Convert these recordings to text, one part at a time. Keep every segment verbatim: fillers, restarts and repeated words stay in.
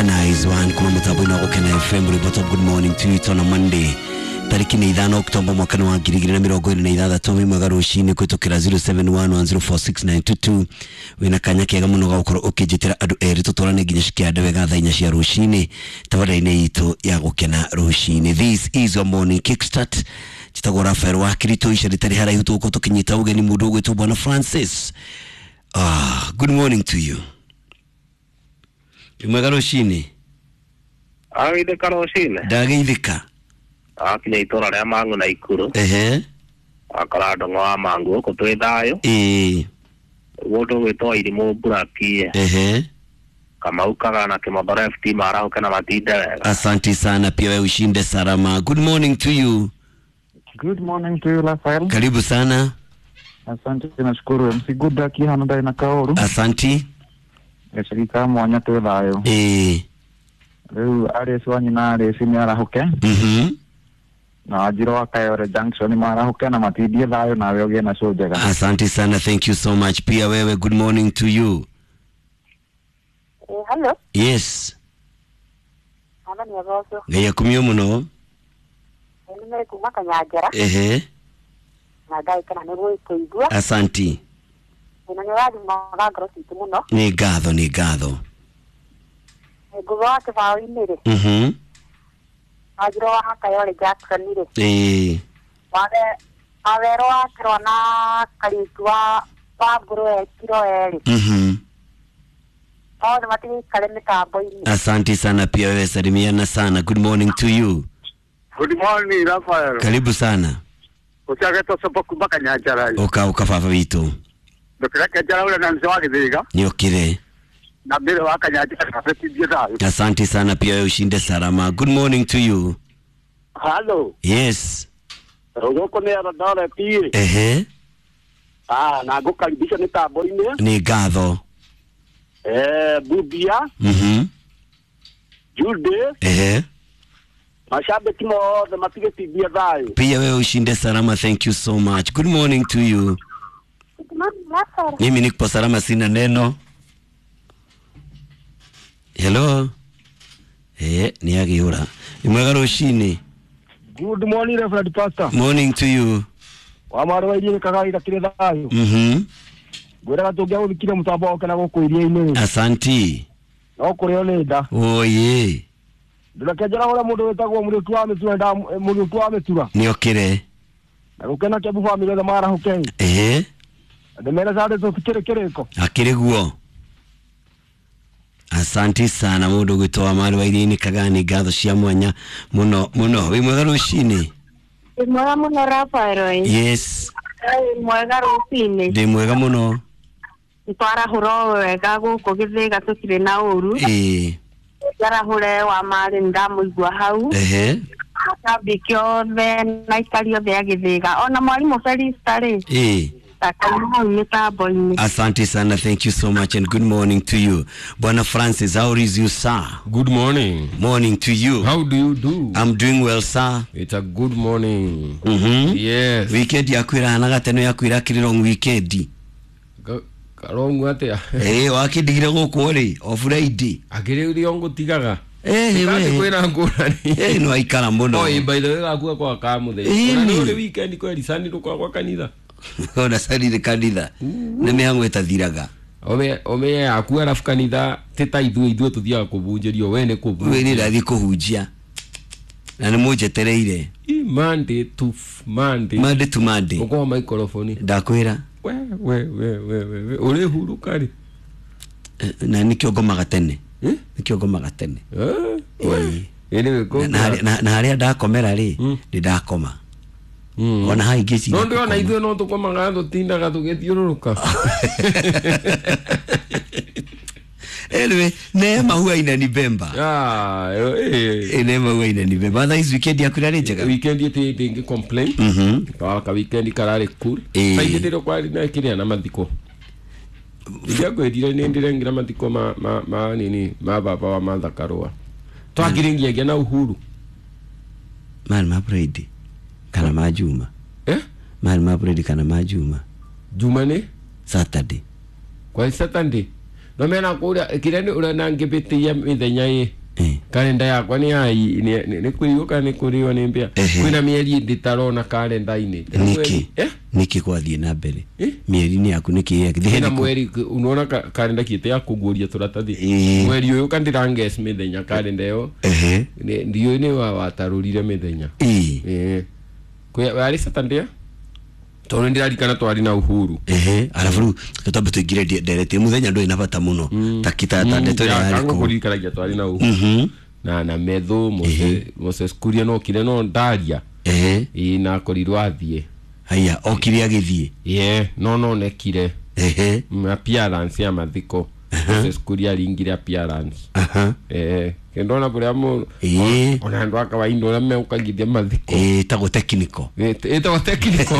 A nice one kuma mutambo-inĩ wa Gũkena F M. Rwĩmbo top. Good morning to you. It's on a Monday, tariki nĩ ithano Oktoba mwaka wa ngiri igĩrĩ na mĩrongo ĩrĩ na ithathatũ. Wĩ mwega rũcinĩ kũhĩtũkĩra zero seven one one zero four six nine two two. Wĩna kanya kega mũno ga gũkorwo ũkĩnjĩtĩra andũ erĩ tũtwarane nginya cikĩande wega thaa inya cia rũcinĩ tabarĩra-inĩ itũ ya Gũkena rũcinĩ. This is your morning kickstart. Njĩtagwo Rafael wa Kirito, ica rĩtarĩ haraihu tũgũkorwo tũkĩnyita ũgeni mũndũ ũgwĩtwo Bwana Francis. Ah, good morning to you. Wĩ mwega rũcinĩ? Agithĩka rũcinĩ. Ndageithĩka. Akinya itũra rĩa Mang'u na Ikuru. Ehe. Akora ndong'o wa Mang'u gũkũ twĩ thayũ. Ĩĩ. Mũndũ ũgwĩtwo Irimũ Mburakie. Ehe. Kamau Kagana Kĩmotho F T marahũke na matinde wega. Asante sana, pia wewe ushinde salama. Good morning to you. Good morning to you, Rafael. Karibu sana. Asante, nashukuru. M C Good Luck hano ndari na Kaoru. Asante. Gacagi mwanya twĩ thayũ. Ĩĩ. Rĩu Aries wa nyina Aries nĩ arahũke. Mhm. Na Wanjirũ wa Kayore Junction marahũke na matindie thayũ, nawe ũgĩe na show njega. Asante sana, thank you so much. Pia wewe, good morning to you. Eh, hello. Yes. Hapa ni Roso. Ngai akumio mũno. Nĩ mere kuma Kanyanjara. Ehe. Na Ngai kana nĩ gũkũigua. Asante. Na nĩ ũrathimaga ngoro citũ mũno. Nĩ ngatho, nĩ ngatho. Ngũgũ wa kĩbaũ-inĩ rĩ. Mhm. Wanjirũ wa Kayore Jackson rĩ. Ĩĩ. Wawero wa Kĩrwa na Kariuki wa wa Ngũrũe kiro erĩ. Mhm. Othe matigĩikare mĩtambo-inĩ. Asante sana, pia wewe salimiana sana. Good morning to you. Good morning, Rafael. Karibu sana. Uciagetwo sopo kuma Kanyanjara. Oka oka baba witũ. Ndũkĩreke njara na mzee wa Gĩthĩga. Nĩokire. Na mbere wa Kanyanjara betindie thayũ. Asante sana, pia wewe ushinde salama. Good morning to you. Hello. Yes. Gũkũ nĩ Eldoret. Ehe. Ah, na ngũkaribisha mĩtambo-inĩ. Nĩ ngatho. Eh, Bubia. Mhm. Jude. Ehe. Mashabiki mothe matigĩtindie thayũ. Pia wewe ushinde salama, thank you so much. Good morning to you. Good morning, Rafael. Mimi niko salama, sina neno. Hello. Eh, ni agiura. Ni mwega rũcinĩ. Good morning, Reverend Pastor. Morning to you. Wa marwa irie kagaira kire thayo. Mhm. Ngwĩraga tũngĩagũthikire mũtambo wa Gũkena gũkũ iria-inĩ. Asante. No kũrĩo nĩ nda. Oye. Ndũreke njara ũrĩa mũndũ wĩtagwo Mũrĩtu wa Mĩtura nda Mũrĩtu wa Mĩtura. Nĩokire. Na gũkena Kĩambu family othe marahũke. Ehe. Ndĩmere sande tũtikĩrĩ kĩrĩko. Akĩrĩ guo. Asante sana mũndũ gwĩtwo wa marwa iria-inĩ Kagani, ngatho cia mwanya mũno mũno. Wĩ mwega rũcinĩ? Wĩ mwega mũno Rafael. Yes. Wĩ mwega rũcinĩ? Ndĩ mwega mũno. Twarahũra o wega gũkũ Gĩthĩga tũtirĩ na ũru. Ĩĩ. Njarahũre wa marĩ nĩndamũigua hau. Ehe. Acambĩki othe na aikari othe a Gĩthĩga ona mwarimũ Felista rĩ. Ĩĩ. Hau mĩtambo-inĩ. Asante sana, thank you so much and good morning to you. Bwana Francis, how is you, sir? Good morning. Morning to you. How do you do? I'm doing well, sir. It's a good morning. Mhm. Yes. Weekend yaku ĩrahanaga teno yaku ĩrakĩrĩ long weekend. Karongu atĩa? Eh, wakĩndigire gũkũ rĩ, o Friday. Akĩrĩ ũrĩa ngũtigaga. Eh, we. Kwĩna ngũrani. Eh, no aikara mũno. Oi, by the way gakua kwa kamũthenya. Ona nĩ weekend kweri sani rũkwa kwa kanitha. Ona sani kanitha. Nĩ mĩhang'o ĩtathiraga. Ome ome yaku arabu kanitha ti ta ithuĩ ithuĩ tũthiaga kũbunjĩrio we nĩ kũbunjia. We nĩ ndathiĩ kũhunjia. Na nĩ mũnjetereire. Monday to Monday. Monday to Monday. Ũkorwo microphone. Ndakwĩra. We we we we we ũrĩ huruka rĩ. Na nĩkĩo ngomaga tene. Nĩkĩo ngomaga tene. Eh. Na harĩa ndakomera rĩ, nĩ ndakoma. Ona hai ngĩciria. No ndĩrona ithuĩ no tũkomaga tũtindaga tũgĩthiũrũrũka. Anyway, Neema huwa inanibemba. Ah, eh. Neema huwa inanibemba. Otherwise weekend yaku ĩrarĩ njega. Weekend ĩtĩ ndĩngĩ complain. Mhm. Ka weekend kararĩ cool. Saidi ndĩro kwari na kĩrĩa na mathiko. Ndiakwĩrire nĩ ndĩrengira mathiko ma ma ma nini ma baba wa Martha Karũa. Twakiringia na Uhuru. Man ma Friday. Kana ma Juma. Eh? Man ma Friday kana ma Juma. Juma ni? Saturday. Kwa Saturday. No mena kuria kire ni uria nangibitia mithenya ii Eh. kalenda yakwa ni ai ni kuriwo kana ni kuriwo ni mbia Ehe. kwina mieri nditarona kalenda-ini Niki eh niki kwathiĩ na mbere Eh? mĩeri-inĩ yaku nĩkĩ kwina mweri unaona ka- kalenda kiite ya kuguria turatathi Ĩĩ. mweri uyu kandiranges mithenya kalenda iyo ehe Ni- ndiũĩ nĩ wa watarũrire mithenya ĩĩ ĩĩ Kwĩ- warĩ Saturday tondũ nĩndĩrarikana twarĩ na Uhuru ehe arabu rĩu tũtambe tũingĩre ndereti mũthenya ndũrĩ na bata mũno ta kita ta ndeto ĩrĩa yarĩ kũu kũririkanagia twarĩ na Uhuru Mhm. na na metho Moses Moses Kuria no kire no ndaria ehe ĩĩ na akorirwo athiĩ haya okire agĩthiĩ ye no nonekire ehe Mm, appearance ya mathiko Moses Kuria aringire appearance aha eh kendona kuria mu Ĩĩ. ona andu a kawaida uria meukagithia mathiko ĩĩ tagwo technical ĩtagwo technical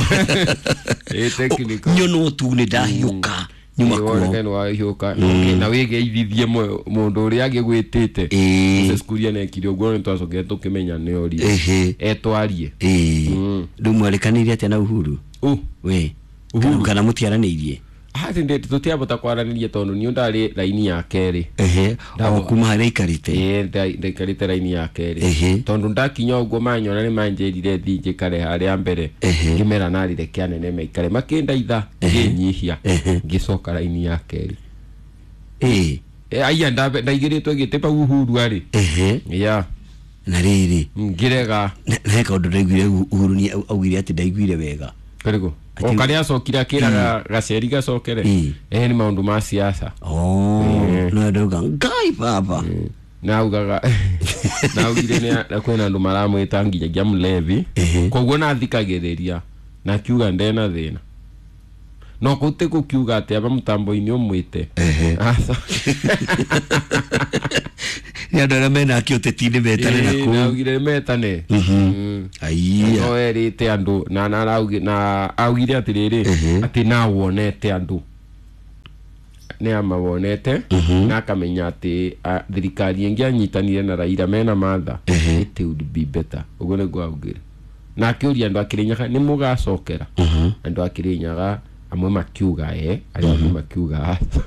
ĩ technical nyono tu nĩ ndahiũka nyuma kuo nĩ wahiũka na wĩgeithithie mũndũ ũrĩa agĩgwĩtĩte Ĩĩ. Moses Kuria nekire ũguo nĩ twacokire tũkĩmenya nĩ orie ehe etwarie ĩĩ Mm. rĩu mwarĩkanĩire atĩa na Uhuru ũ we Uhuru. kana mũtiaranĩirie atĩ tũtiabota kwaranĩria tondũ niĩ ndarĩ raini ya kerĩ ehe o Ndabo- kuma harĩa aikarĩte ĩĩ nda- ndaikarĩte raini ya kerĩ Ehe. tondũ ndakinya ũguo manyona nĩ manjĩrire thiĩ njikare harĩa mbere Ehe. ngĩmera narire kĩanene maikare makĩndaitha ngĩnyihia Ehe. ngĩcoka raini ya kerĩ ĩĩ Eh, aya ndabe- ndaigĩrĩtwo gĩtĩ pau Uhuru arĩ ehe ya na rĩrĩ ngĩrega na na he kaũndũ ndaiguire Uhuru nĩ augire atĩ ndaiguire wega karigo o Ati- karĩa acokire akĩraga gaceri gacokere Ĩĩ. eh nĩ maũndũ ma siasa oh no ndauga ngai baba naugaga naugire nĩ kwĩna andũ maramwĩta nginyagia mlevi Ehe. koguo nathikagĩrĩria na akiuga ndena thĩna no kũu ti gũkiuga atĩ aba mũtambo-inĩ ũmwĩte Ehe. Aca. nĩ andũ arĩa mena akĩ ũteti-inĩ metane na Ĩĩ, kũu naugire metane Mm. aiya no erĩte andũ na na araugi- na augire atĩrĩrĩ Ehe. atĩ na wonete andũ nĩ amawonete na akamenya atĩ a, thirikari ĩngĩ anyitanire na Raila mena Martha Ehe. it would be better ũguo nĩguo augire na akĩũria andũ a Kĩrĩnyaga nĩ mũgacokera andũ a Kĩrĩnyaga amwe makiuga e arĩa angĩ makiuga aca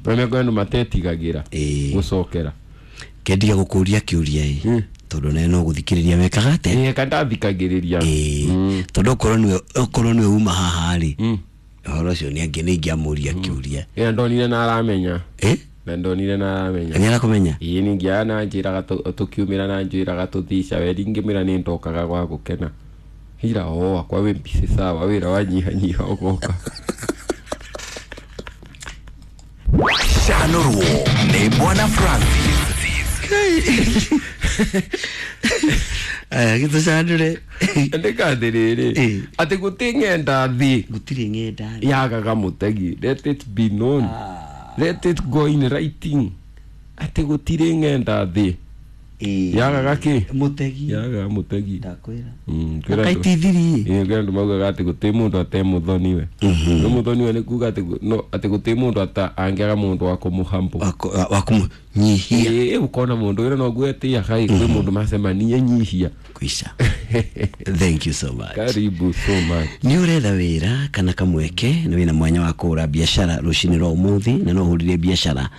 na andũ matetigagĩra Ĩĩ. gũcokera kendiga gũkũria kĩũria ĩ tondũ nawe no gũthikĩrĩria wekaga atĩa ĩĩ kandathikagĩrĩria ĩĩ tondũ okorwo nĩwe okorwo nĩwe uma haha rĩ ũhoro ũcio nĩ angĩ nĩ ingĩamũria kĩũria ĩna ndonire na aramenya ĩ na ndonire na aramenya nĩ arakũmenya ĩĩ ningĩ na njĩraga tũ- tũkiumĩra na njĩraga tũthiĩ caweri ngĩmĩra nĩ ndokaga gwa gũkena hira o akwa wĩ mbisi sawa wĩra wanyihanyiha ũgoka Chanurwo nĩ Bwana Francis. aya gĩtũcandũre ndĩkathĩrĩrĩ Ĩĩ. atĩ gũtĩ ng'enda thĩ gũtirĩ ng'enda yagaga mũtegi let it be known let it go in writing atĩ gũtirĩ ng'enda thĩ Ĩĩ. yagaga kĩ mũtegi yagaga mũtegi ndakwĩra Mm, kwĩra andũ- akaitithirie Ĩĩ, kwĩ andũ maugaga atĩ gũtĩ mũndũ ate mũthoniwe no mũthoniwe nĩ kuga atĩ gu- no atĩ gũtĩ mũndũ ata angĩaga mũndũ wa kũmũhambo wa kũmũnyihia ĩĩ ũkona mũndũ wĩra noguo etĩaga ĩ kwĩ mũndũ macemania nyihia kwica thank you so much karibu so much nä å retha wä ra kana kamweke na wä na mwanya wa kå ra biacara rå cinä rwa å må thä na no å hå rire biacara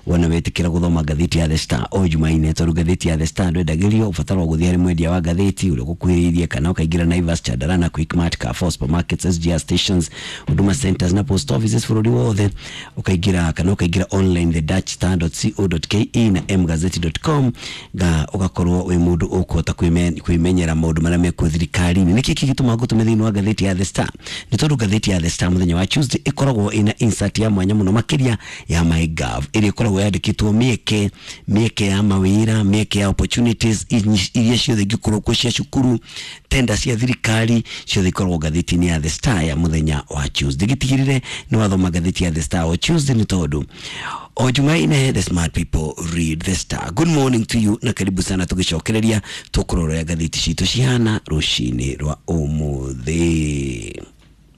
wona wä kä ra gå thoma ngathä ya The Star o jumaine tondå ngathä ya The Star ndwendagä rio å batara gå thiä harä mwendia wa ngathä å rä a å gå kuhä rä irie kana å kaingä ra Naivas Chandarana Quickmart Carrefour supermarkets S G R stations Huduma centers na post offices bå rå ri wothe å kaingä ra kana å kaingä ra online the dutch star dot co dot ke na mgazeti dot com ga ũgakorwo wĩ mũndũ ũkũhota kwĩme- kwĩmenyera maũndũ marĩa mekuo thirikari-inĩ nĩkĩ kĩgĩtũma ngũtũme thĩinĩ wa ngathĩti ya The Star nĩ tondũ ngathĩti ya The Star mũthenya wa Tuesday ĩkoragwo ĩna insert ya mwanya mũno makĩria ya MyGov ĩrĩa ĩkoragwo yandĩkĩtwo mĩeke mĩeke ya mawĩra mĩeke ya opportunities inyi- iria ciothe ingĩkorwo kuo cia cukuru tenda cia thirikari ciothe ikoragwo ngathĩti-inĩ ya The Star ya mũthenya wa Tuesday gĩtigĩrĩre nĩ wathoma ngathĩti ya The Star o Tuesday nĩ tondũ o Jumanne the smart people read the Star. Good morning to you na karibu sana tugicokereria tukurora ngathĩti citũ cihana rũcinĩ rwa ũmũthĩ.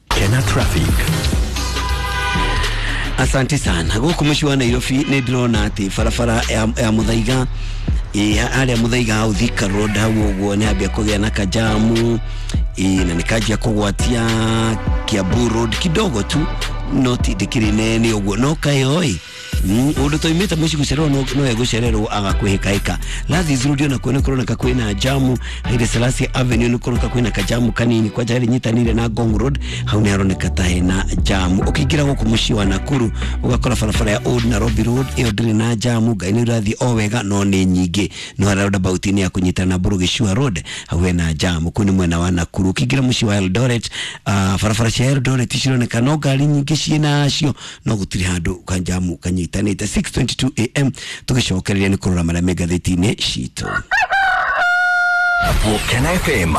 Kena Traffic. Asante sana gũkũ mũciĩ wa Nairobi nĩ ndĩrona atĩ barabara ya, ya Muthaiga ĩ harĩa Muthaiga hau Thika Road hau ũguo nĩ hambia kũgĩa na kajamu ĩ na nĩ kanjia kũgwatia Kiambu Road kidogo tu No ti ndĩkĩrĩ nene ũguo no kaĩ oi ũndũ toimĩte mũciĩ gũcererwo no no egũcererwo agakwĩhĩkahĩka. Lathis Road onakuo nĩ kũroneka kwĩna jamu. Haile Selassie Avenue nĩ kũroneka kwĩna kajamu kanini kwanja harĩ nyitanĩire na Ngong Road, hau nĩ haroneka ta hena jamu. Ũkĩingĩra gũkũ mũciĩ wa Nakuru ũgakora barabara ya Old Nairobi Road ĩyo ndĩrĩ na jamu, ngai nĩ ũrathiĩ o wega no nĩ nyingĩ. No harĩa roundabout-inĩ ya kũnyitana na Burugicua Road hau hena jamu, kũu nĩ mwena wa Nakuru. Ũkĩingĩra mũciĩ wa Eldoret, uh, barabara cia Eldoret cironeka no ngari nyingĩ ciĩnacio no gũtirĩ handũ kanjamu kanyitanĩte. six twenty-two A M tũgĩcokereria nĩ kũrora marĩa me ngathĩti-inĩ citũ. Kena F M.